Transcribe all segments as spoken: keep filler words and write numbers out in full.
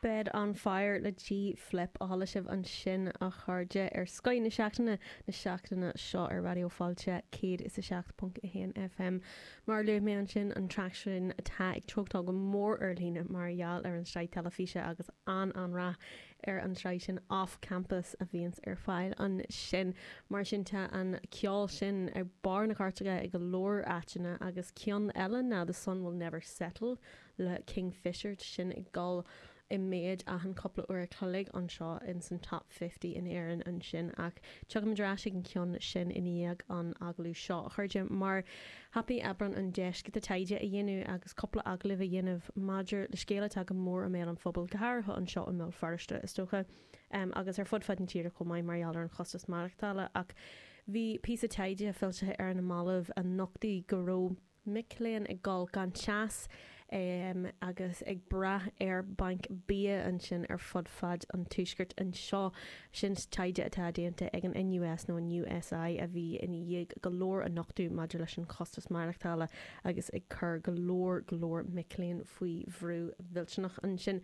Bed on Fire le G Flip a chuala sibh ansin a chairde ar Scoth na Seachtaine na seachtaine seo ar Raidió Fáilte céad is a seacht ponc a haon FM. Mar luaigh mé ansin an traic sin atá ag treochtáil go mór ar líne mar gheall ar an sraith teilifíse agus an an-rath ar an tsraith sin Off Campus a bhíonns ar fáil ansin. Mar sin tá an ceol sin ar barr na cairteacha ag go leor áiteanna agus ceann eile ná The Sun Will Never Settle le Kingfisher sin ag dul i méid achan cúpla uair a chloig anseo in san top fifty in Éirinn ansin ach tiocfaimid ar ais ag an ceann sin i ndiaidh an agallamh seo a chairde mar thapaigh Aibreán an deis giota taighde a dhéanamh agus cúpla agallamh a dhéanamh maidir le scéal atá go mór i mbéal an phobail go háirithe anseo i mBéal Feirste is dócha um, agus ar fud fad na tíre chomh maith mar gheall ar an chostas maireachtála ach bhí píosa taighde foilsithe ar na mallaibh a nochtaigh go raibh mic léinn ag dul gan teas um, agus ag brath ar banc bia ansin ar fud fad an tuaiscirt anseo sin taighde atá déanta ag an NUS nó an USI a bhí ina dhiaidh go leor a nochtadh maidir leis an chostas maireachtála agus ag cur go leor go leor mic léinn faoi bhrú millteanach ansin.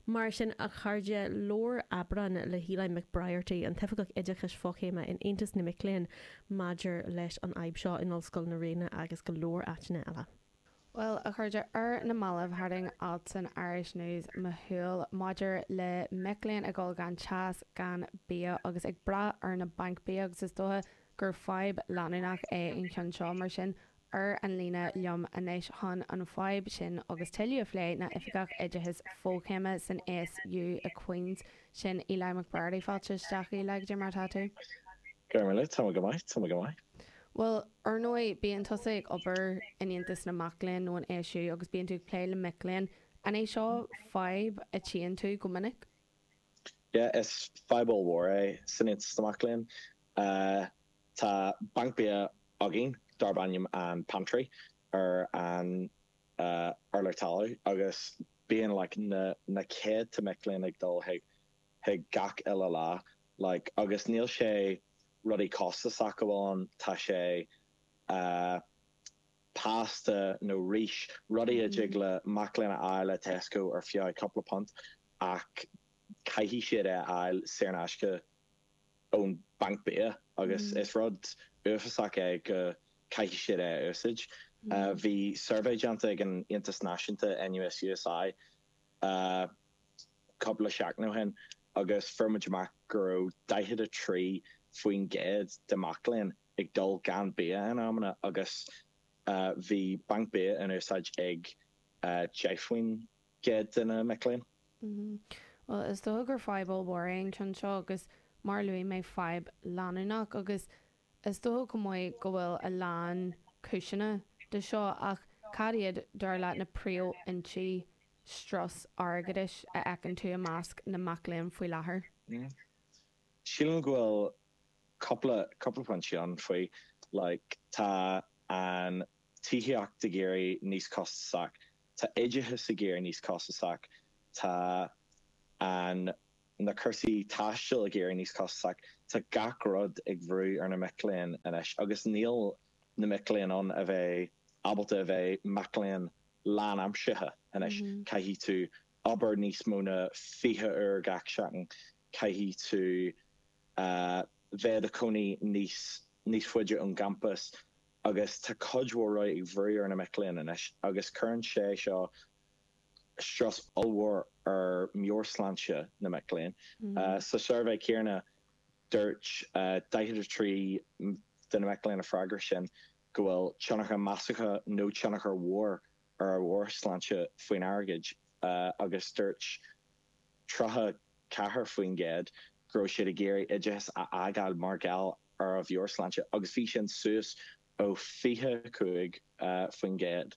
Mar sin a chairde labhair Aibreán le hEli McBriarty an tOifigeach Oideachais Fochéime in Aontas na Mic Léinn maidir leis an fhadhb seo in Ollscoil na Ríona agus go leor áiteanna eile. Well a chairde ar na mallaibh tharraing alt san Irish News mo shúil maidir le mic léinn ag dul gan teas gan bia agus ag brath ar na bainc bia agus is dócha gur fadhb leanúnach é an ceann seo mar sin ar an líne liom anois chun an fadhb sin agus tuilleadh a phlé ná Oifigeach Oideachais Fochéime san ASU i Queens sin Eli McBriarty fáilte isteach Eli cad é mar atá tú. Go tá go maith tá go maith. Well ar ndóigh bíonn tusa ag obair in Aontas na Mac Léinn nó an ASU agus bíonn tú ag plé le mic léinn an é seo fadhb a tchíonn tú go minic? Yeah, is fadhb mhór é san Aontas na Mac Léinn. Uh, tá banc bia againn darb ainm an pantry ar an uh, urlár talaimh agus bíonn like, na, na céadta mic léinn ag dul chuig chuig gach uile lá like, agus níl sé rudaí costasach amháin tá sé uh, pasta nó rís rudaí a dtig le mac léinn a fháil le Tesco ar feadh cúpla punt ach caithfidh siad é a fháil saor in aisce ón banc bia agus mm. is rud uafásach é go caithfidh siad é a úsáid. Mm. Uh, bhí suirbhé déanta ag an Aontas Náisiúnta NUS USI uh, cúpla seachtain ó shin agus fuair muid amach go raibh daichead a trí faoin gcéad de mhic léinn ag dul gan bia in amanna agus uh, bhí banc bia in úsáid ag uh, deich faoin gcéad de na mic léinn. Mm -hmm. Well is dócha gur fadhb mhór é an ceann seo agus mar luaigh mé fadhb leanúnach agus is dócha go maith go bhfuil a lán cúiseanna de seo ach cad iad dar leat na príomhfhoinsí strus airgeadais a fheiceann tú i measc na mac léinn faoi láthair. Mm. Sílim go bhfuil cúpla cúpla pointe ann faoi like, tá an tithíocht ag éirí níos costasach, tá oideachas ag éirí níos costasach, tá an na cúrsaí taistil ag éirí níos costasach, tá gach rud ag brú ar na mic léinn anois agus níl na mic léinn ann a bheith ábalta a bheith mac léinn lánaimseartha anois mm -hmm. caithfidh tú obair níos mó ná fiche uair gach seachtain caithfidh tú uh, bheith i do chónaí níos níos faide ón gcampas agus tá cuid mhór ag brú ar na mic léinn anois agus cuireann sé seo strus ollmhór ar mheabhairshláinte na mic léinn. Mm. Uh, sa suirbhé céanna dúirt uh, daichead a trí de na mic léinn a freagair sin go bhfuil tionchar measartha nó tionchar mhór ar a meabhairshláinte faoin airgead uh, agus dúirt tríocha ceathair faoin gcéad go raibh siad ag iarraidh oideachas a fhágáil mar gheall ar a meabhairshláinte agus bhí sin suas ó fiche cúig uh, faoin gcéad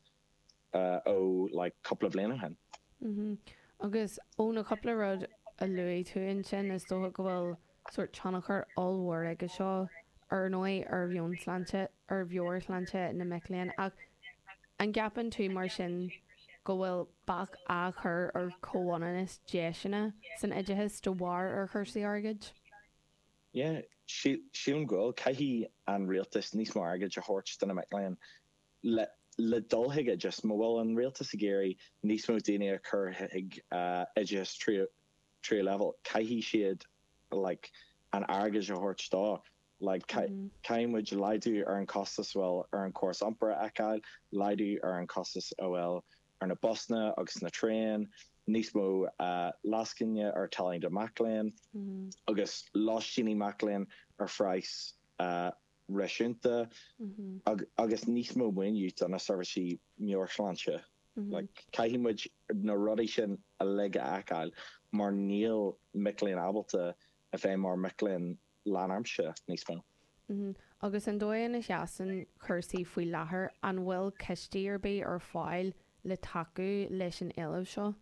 uh, ó like, cúpla bliain ó shin. Mm -hmm. Agus ó na cúpla rud a luaigh tú ansin is dócha go bhfuil sórt tionchar ollmhór aige seo ar ndóigh ar mheabhairshláinte ar mheabhairshláinte na mic léinn ach an gceapann tú mar sin go bhfuil bac á chur ar chomhionannas deiseanna san oideachas de bharr ar chúrsaí airgid? Yeah, sílim go bhfuil caithfidh an rialtas níos mó airgid a thabhairt do na mic léinn le le dul chuig oideachas, má bhfuil an rialtas ag iarraidh níos mó daoine a chur chuig oideachas tríú tríú leibhéal, caithfidh siad like an airgead a thabhairt dó. Like caithfidh muid laghdú ar an costas a bhfuil ar an córas iompair a fheiceáil, laghdú ar an costas a bhfuil ar na busanna agus na traein, níos mó lascaine ar táillí do mac léinn agus lóistíní mac léinn ar phraghas réasúnta agus níos mó maoiniú do na seirbhísí meabhairshláinte. Like caithfidh muid na rudaí sin uilig a fheiceáil mar níl mic léinn ábalta a bheith mar mic léinn lánaimseartha níos mó. Agus an dóigh ina sheasann cúrsaí faoi láthair, an bhfuil cistí ar bith ar fáil le tacú leis an éileamh seo?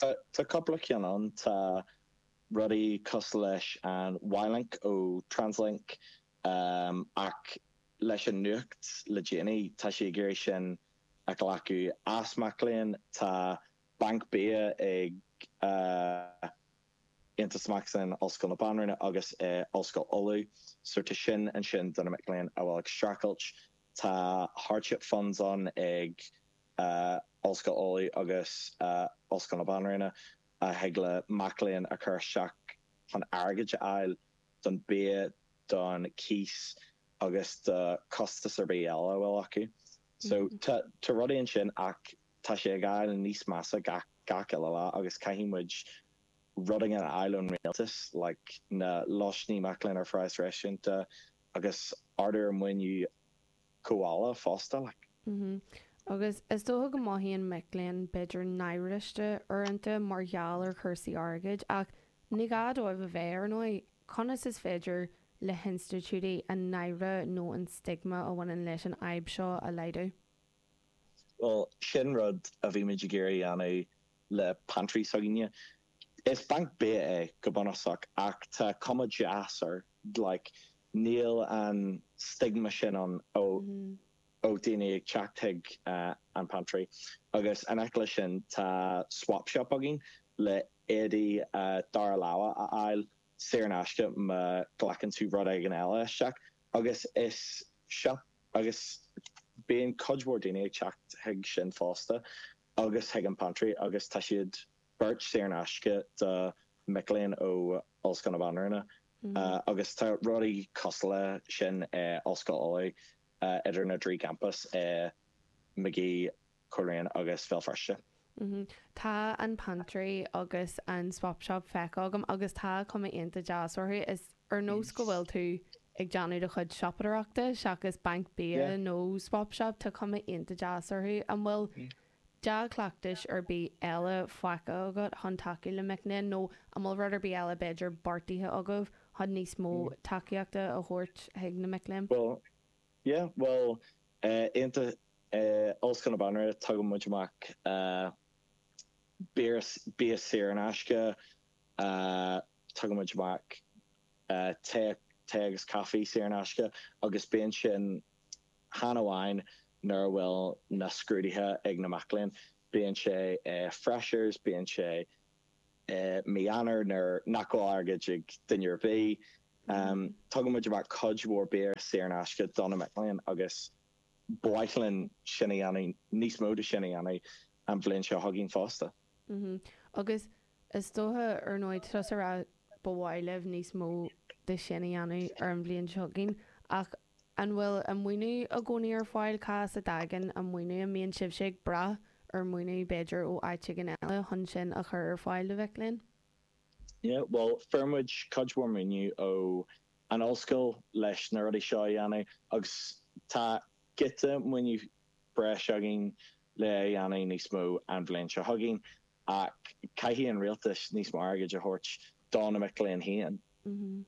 Tá cúpla ceann ann. Tá rudaí cosúil leis an Y-Link ó Translink ach leis an nuacht le déanaí tá sé ag iarraidh sin a ghlacadh as mac léinn. Tá banc bia ag Aontas Mac Léinn Ollscoil na Banríona agus Ollscoil Uladh so tá sin ansin do na mic léinn a bhfuil ag streachailt. Tá hardship funds ann ag Ollscoil Uladh agus Ollscoil na Banríona a thig le mac léinn a chur isteach chun airgead a fháil don bia, don cíos agus do costas ar bith eile a bhfuil acu. So tá tá rudaí ansin ach tá sé ag fáil níos measa gach gach uile lá agus caithfidh muid rud éigin a fháil ón rialtas like na lóistíní mac léinn ar phraghas réasúnta agus ardú ar maoiniú comhdhála fosta like. Agus is dócha go mothaíonn mic léinn b'fhéidir náiriste uaireanta mar gheall ar chúrsaí airgid, ach ní gá dóibh a bheith, ar ndóigh. Conas is féidir le hinstitiúidí an náire nó an stigma a bhaineann leis an fhadhb seo a laghdú? Bhuel, sin rud a bhí muid ag iarraidh a dhéanamh le pantry s'againne. Is banc bia é go bunúsach ach tá cuma deas air, like níl an stigma sin ann ó ó daoine ag teacht chuig an pantry. Agus in aice leis sin tá swap shop againn le éadaí dara láimhe a fháil saor in aisce má ghlacann tú rud éigin eile isteach agus is shop agus bíonn cuid mhór daoine ag teacht chuig sin fosta agus chuig an pantry agus tá siad beirt saor in aisce do mic léinn ó Ollscoil na Banríona agus tá rudaí cosúil le sin i Ollscoil Uladh idir na dtrí campas i Magee, Coleraine agus Bhéal Feirste. Tá an pantry agus an swap shop feicthe agam agus tá cuma iontach deas orthu. Is ar nós go bhfuil tú ag déanamh do chuid siopadóireachta seachas banc bia nó swap shop, tá cuma iontach deas orthu. An bhfuil dea-chleachtais ar bith eile faighte agat chun tacú le mic léinn nó an bhfuil rud ar bith eile b'fhéidir beartaithe agaibh chun níos mó tacaíochta a thabhairt chuig na mic léinn? Well, yeah, well, uh, uh, Ollscoil na Banríona tugann muid amach uh, bia bia saor in aisce, uh, tugann muid amach uh, tae tae agus caife saor in aisce agus bíonn sin chan amháin nuair a bhfuil na scrúduithe ag na mic léinn. Bíonn sé uh, freshers, bíonn sé uh, mí Eanáir nuair nach bhfuil airgead ag duine ar bith. Um, tugann muid amach cuid mhór bia saor in aisce do na mic léinn agus ba mhaith linn sin a dhéanamh níos mó de sin a dhéanamh an bhliain seo chugainn fosta. Mm Agus is dócha ar ndóigh tusa a rá ba mhaith libh níos mó de sin a dhéanamh ar an bhliain seo chugainn ach an bhfuil an maoiniú i gcónaí ar fáil cá as a dtagann an maoiniú an mbíonn sibhse ag brath ar maoiniú b'fhéidir ó áit éigin eile chun sin a chur ar fáil do mhic léinn? Yeah, well, fuair muid cuid mhór maoiniú ó an ollscoil leis na rudaí seo a dhéanamh agus tá giota maoiniú breis againn le a dhéanamh níos mó an bhliain seo chugainn ach caithfidh an rialtas níos mó airgid a thabhairt do na mic léinn féin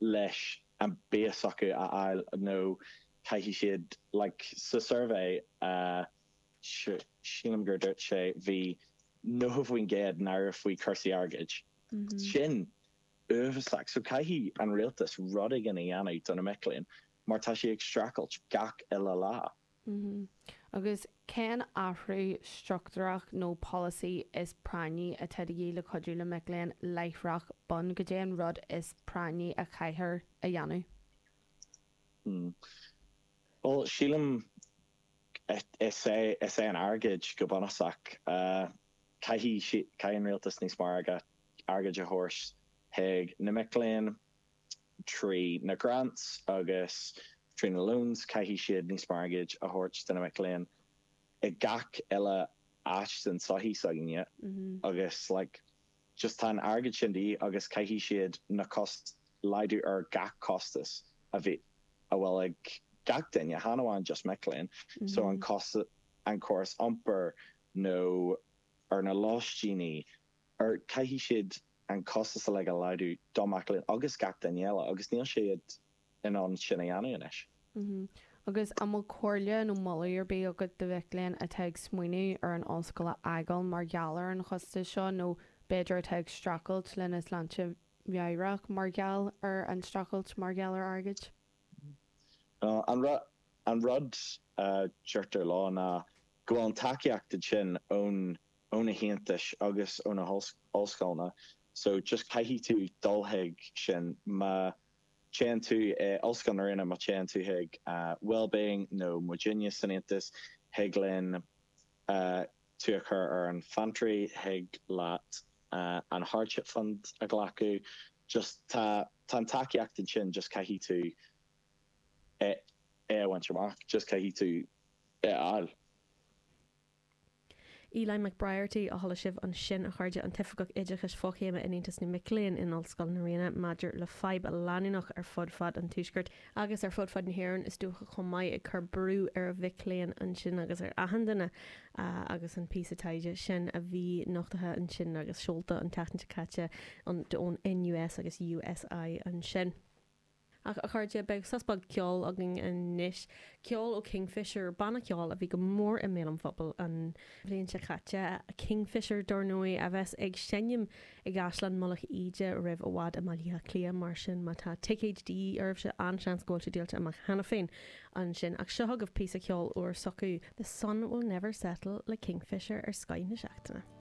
leis an bia s'acu a fháil nó caithfidh siad like sa survey uh, sílim gur dúirt sé bhí nócha faoin gcéad náirithe faoi cúrsaí airgid. Sin uafásach, so caithfidh an rialtas rud éigin a dhéanamh do na mic léinn mar tá sé ag streachailt gach uile lá. Agus cén athrú struchtúrach nó polasaí is práinní atá de dhíth le cuidiú le mic léinn láithreach bonn cad é an rud is práinní a chaithfear a dhéanamh? Hmm. Well, sílim Is é is é an airgead go bunúsach uh, caithfidh caithfidh an rialtas níos mó airgead a thabhairt chuig na mic léinn trí na grants agus trí na loans caithfidh siad níos mó airgid a thabhairt do na mic léinn i gach eile áit den sochaí s'againne Mhm. agus like just tá an airgead sin de dhíth agus caithfidh siad na cost laghdú ar gach costas a bhí a bhfuil ag gach duine chan amháin just mic léinn so an cost an córas iompair nó ar na lóistíní ar caithfidh siad an costas a le a laghdú do mhic léinn agus gach duine eile agus níl siad in ann sin a dhéanamh anois. Mhm. Agus an bhfuil comhairle nó moladh ar bith agat do mhic léinn atá ag smaoineamh ar an ollscoil a fhágáil mar gheall ar an chostas seo nó b'fhéidir atá ag streachailt lena sláinte mheabhrach mar gheall ar an streachailt mar gheall ar airgead? Uh, an ru an rud uh, deirtear leo ná go bhfuil an tacaíocht sin ón ó na haontais agus ó na ollscoileanna so just caithfidh tú dul chuig sin má téann tú eh, Ollscoil na Ríona má téann tú chuig uh, wellbeing nó muidinne san aontas thig linn uh, tú a chur ar an fiontraí thig leat uh, an hardship fund a ghlacadh just tá tá an tacaíocht sin just caithfidh tú é é a bhaint amach just caithfidh tú é a fháil. Eli McBriarty a chuala sibh ansin a chairde an tOifigeach Oideachais Fochéime in Aontas na Mic Léinn in Ollscoil na Ríona maidir le fadhb a leanúnach ar fud fad an tuaiscirt agus ar fud fad na hÉireann is dócha chomh maith ag cur brú ar mhic léinn ansin agus ar achan duine uh, agus an píosa taighde sin a bhí nochtaithe ansin agus seolta an tseachtain seo caite ón NUS agus USI ansin. Ach a chairde beidh sos beag ceoil againn anois ceol ó Kingfisher banna ceoil a bhí go mór i mbéal an phobail an bhliain seo caite Kingfisher dar ndóigh a bheas ag seinm i gCaisleán Mullach Íde roimh i bhfad i mBaile Átha Cliath mar sin má tá ticéid de dhíth oraibhse an-seans go bhfuil sé díolta amach cheana féin ansin ach seo agaibh píosa ceoil úr s'acu The Sun Will Never Settle le Kingfisher ar Scoth na Seachtaine.